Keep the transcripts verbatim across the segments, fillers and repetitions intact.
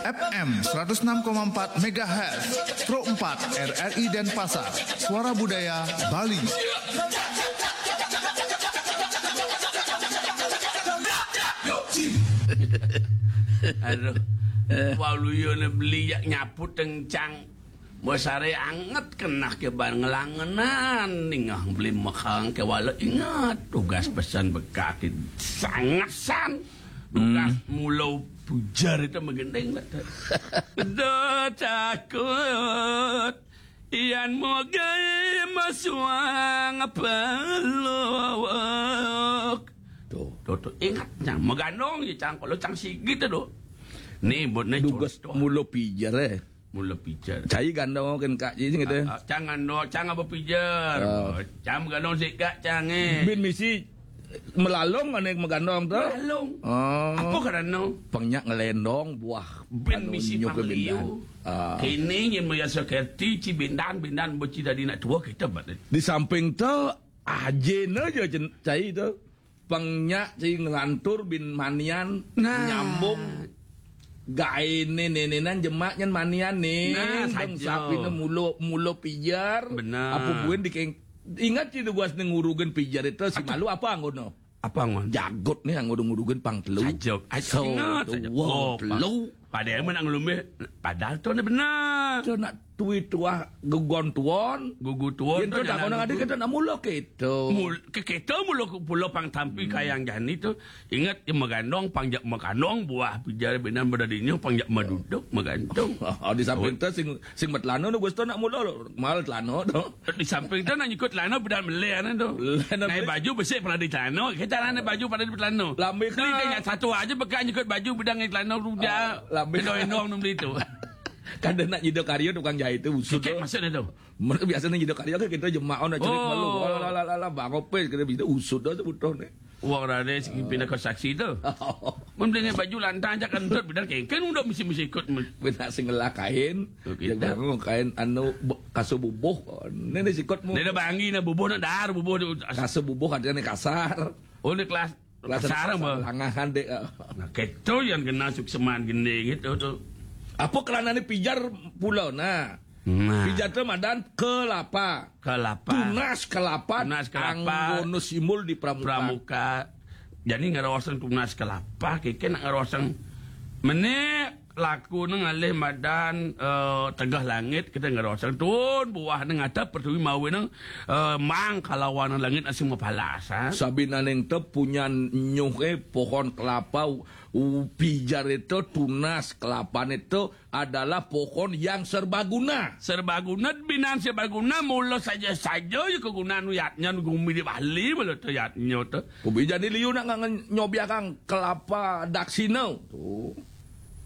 F M seratus enam koma empat megahertz, Pro empat R R I Denpasar, Suara Budaya Bali. Aduh, waluya né beli jak nyapu tengcang. Mesaré anget keneh ké ban ngelangenan, ningeh beli mekang ké wala inget. Tugas pesan bekati sangesan. Tugas mula pujar itu megending, Pak. Da takut, yan mogai masuang peluk. Tuh. Tuh, tuh, inget, cang, megandong ya, cang, kalau cang sigit tuh. Nih, buat nih Dugas contoh. Mula pijar, eh. Mula pijar. Cai gandong kan, Kak, ji, gitu. Ah, ah, cang gandong, cang apa pijar? Ah. Oh, cang gandong si Kak, cang, eh. Bin misi melalung, ané megandong tuh. Melalung. Oh. Apa karena? Pang nyak ngelendong buah. Bin anu misi nyuk pangliu. Bindan. Ah. Kini nyen maya sekerti, ci bindan, bindan beci dadi nak tua kita, Pak. Di samping tuh, ajin aja, cen-, cai tuh. Pang nyak ci ngelantur bin manian, nah, nyambung gaéné nénénan jemak nyen manian nih. Nah, bang saja. Sapiné mula, mula pijar. Benar. Apa buin dikeng-, ingat ci tugas nih ngurugen pijar itu si malu apa anggono? Apa anggon? Jagot nih anggo ngurugen pang telu. Saja. Ai, so, ingat saja. Dua, oh, telu. Padahal menang lumbe, padahal tuh benar. Tuh nak tui tuah gugon tuon. Gugu tuon. Yen tuh nak kono ngadi kita nak mula kita. Mul-, ke kita mula pula pang tampi kayang jani tuh. Ingat, ya, megandong, pang jak megandong, buah pijar binan bedadinya, pang jak meduduk, megandong. Oh, di samping tuh sing, sing metlano tuh, Gusto nak mula lo. Mal tlano tuh. Di samping tuh nak nyikut tlano, bedan meleh, ané tuh. Nah, baju besik pernah di tlano, kita ané baju pada di tlano. Lambe. Jadi, kan, satu aja bekas nyikut baju, bedan di tlano, rujak. Ah, lambe. Kedoi dong, beli tuh. Kada nak nyida karya tukang jahit tuh, usut. Kekek tuh. Maksudnya tuh? Mereka biasanya nyida karya kan kita jemak, oh, nak cerik malu. Oh. Alah, alah, alah, alah, bang, opes, kita bisa usut dah sebutuh nih. Wong rade sing pindah ke saksi tuh. Mun beli baju lantang aja kentut, bener kengken udah mesti, mesti ikut. Benar sing ngelah kain. Oh, gitu. Yang baru kain anu bu-, kasu bubuh. Ini nih sikut mu. Dia ada banggi nah bubuh, nah dar bubuh tuh. Kasu bubuh artinya nih kasar. Oh, ini kelas Kelas kasar apa? Langahan deh. Nah, gitu yang kena sukseman gini gitu tuh. Apa kelana ini pijar pula, nah. Nah. Pijar tuh madan kelapa. Kelapa. Tunas kelapa. Tunas kelapa. Anggono simbol di pramuka. Pramuka. Jadi ngerosen tunas kelapa, kike nak ngerosen. Mene laku nang ngalih madan, eh, tegah langit, kita ngerosen tuun buah nang atap pertiwi mawi nang, eh, mang kalawan langit asing mapalas, ha? Sabinaning te punyan nyuh, eh, pohon kelapa, u-, u-, pijar itu tunas kelapa itu adalah pohon yang serbaguna. Serbaguna, binan serbaguna, mula saja-saja ya kegunaan yatnya gumi di Bali, mula tu yatnya tu. Ubi jadi liu nak ngan nyobiakang kelapa daksina. Tu.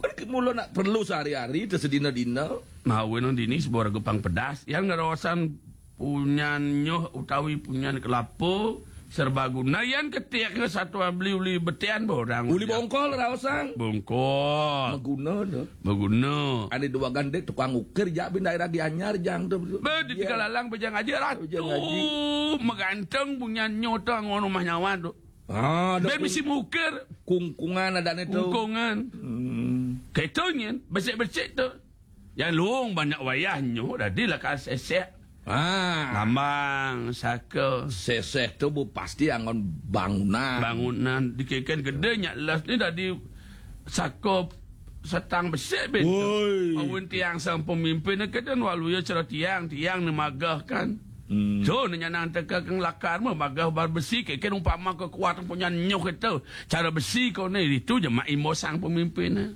Kan mula nak perlu sehari-hari, tersedina-dina. Mawi nang dini sebuah regu pang pedas. Yang ngerosan punyan nyuh utawi punyan kelapa serbaguna, yan ketiknya satu beli uli betian borang. Uli bongkol, raosang. Bongkol. Maguna dah. Maguna. Ada dua gandek tukang ukir, jak bin daerah Gianyar, jang tu. Be, di Tegallalang, bejang aja ratu. Bejang aja. Meganteng punyan nyuh tu, ngono mah nyawa tu. Ah, ben mesti mukir. Kungkungan ada ni tu. Kungkungan. Hmm. Ketonyen, besik-besik tu. Yang luung banyak wayah nyuh, dadi lakar sesek. Ah. Lambang, saka. Sesek tu bu pasti anggon bangunan. Bangunan, dikeken gede nyak las ni dadi saka setang besik ben. Woi. Mawin tiang sang pemimpin, keden waluya cara tiang, tiang ni magah kan. Hmm. So, ni nyanang teka keng lakar mah, magah bar besi, keken umpama kekuatan punya nyuh itu. Cara besi kau ni, itu je mak imbo sang pemimpin.